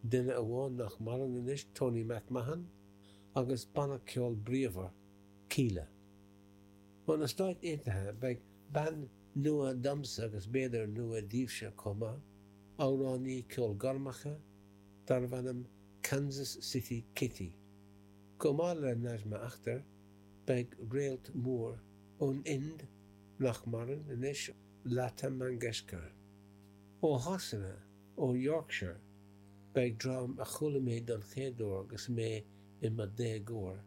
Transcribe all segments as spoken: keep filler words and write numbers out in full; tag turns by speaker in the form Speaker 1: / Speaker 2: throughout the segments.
Speaker 1: duine amháin nach maireann anois Tony MacMahon agus banna ceoil bríomhar Kíla. Ó na Stáit Aontaithe beidh bean nua domsa agus b'fhéidir nua daoibhse chomh maith, amhránaí ceolghairmeacha darbh ainm Kansas City Kitty. Chomh maith le Najma Akhtar beidh réalt mór ón Ind nach maireann anois Lata Mangeshkar. Ó Shasana ó Yorkshire beidh dream a chuala mé don chéad uair agus mé i mo dhéagóir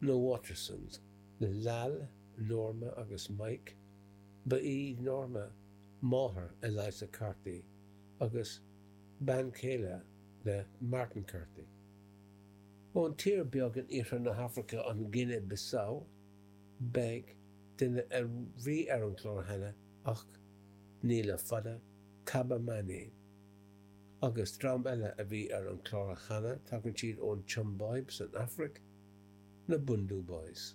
Speaker 1: na Watersons le Lal, Norma agus Mike, ba í Norma máthair Eliza Carthy agus bean chéile le Martin Carthy. Ón tír beag in iarthar na hAfraice an Guine Bissau beidh duine a bhí ar an chlár cheana ach ní le fada Kaba Mane. Agus dream eile a bhí ar an chlár cheana tagann siad ón tSiombáib san Afraic na Bhundu Boys.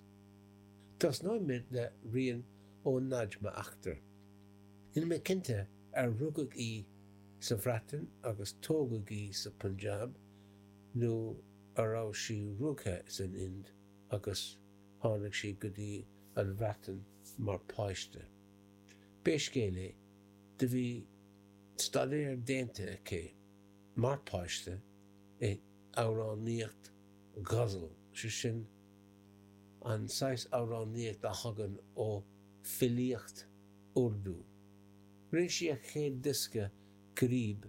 Speaker 1: Tosnóimid le rian ó Najma Akhtar. Níl mé cinnte ar rugadh í sa Bhreatain agus tógadh í sa Punjab nó a raibh sí rugadh san Ind agus tháinig sí go dtí an Bhreatain mar páiste. Pé scéal é do bhí staidéar déanta aici mar páiste i amhránaíocht ghazal sé sin an saghas amhránaíocht a thagann ó filíocht Urdu. Rinne sí a chéad diosca Qareeb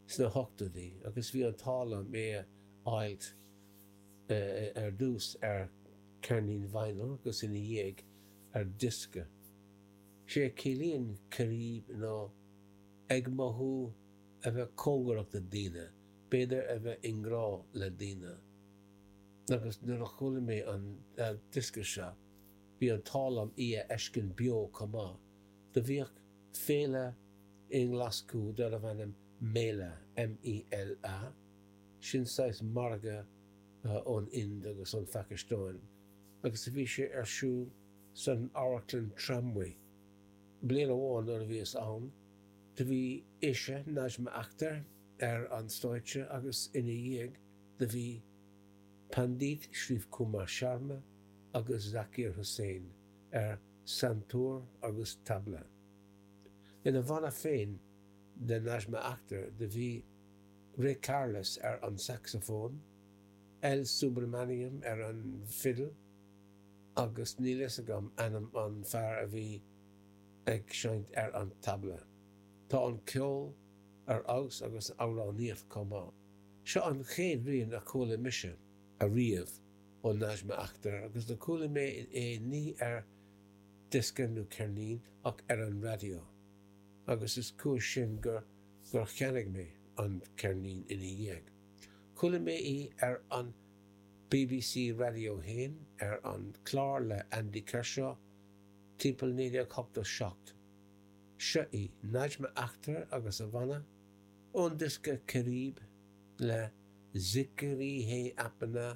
Speaker 1: sna hochtóidí agus bhí an t-ádh liom é a fháil ar dtús ar ceirnín vinyl agus ina dhiaidh ar diosca. Sé ciallaíonn Qareeb ná ag mothú a bheith cóngarach do daoine, b'fhéidir a bheith i ngrá le daoine. Agus nuair a chuala mé an diosca seo, bhí an t-ádh liom í a fheiscint beo chomh maith, do bhíodh féile i nGlaschú darbh ainm Mela M-E-L-A, sin saghas margadh ón Ind agus an Phacastáin, agus a bhí sé ar siúl san amharclann Tramway. Bliain amháin nuair a bhíos ann, do bhí ise Najma Akhtar ar an stáitse agus ina dhiaidh do bhí Pandit Shiv Kumar Sharma agus Zakir Hussain ar santoor agus tabla. Ina bhanna féin de Najma Akhtar do bhí Ray Carless ar an saxophone, L Subramaniam ar an fiddle, agus níl fhios agam ainm an fear a bhí ag seinnt ar an tabla. Tá an ceol ar fheabhas agus amhránaíocht chomh maith. Seo an chéad rian a chuala mise ariamh ó Najma Akhtar agus do chuala mé é ní ar diosca nó ceirnín ach ar an raidió, agus is cúis sin gur gur cheannaigh mé an ceirnín ina dhiaidh. Chuala mé í ar an BBC Radio haon ar an chlár le Andy Kershaw timpeall naoi déag ochtó seacht. Seo í Najma Akhtar agus a bhanna ón diosca Qareeb le Zikri Hai Apna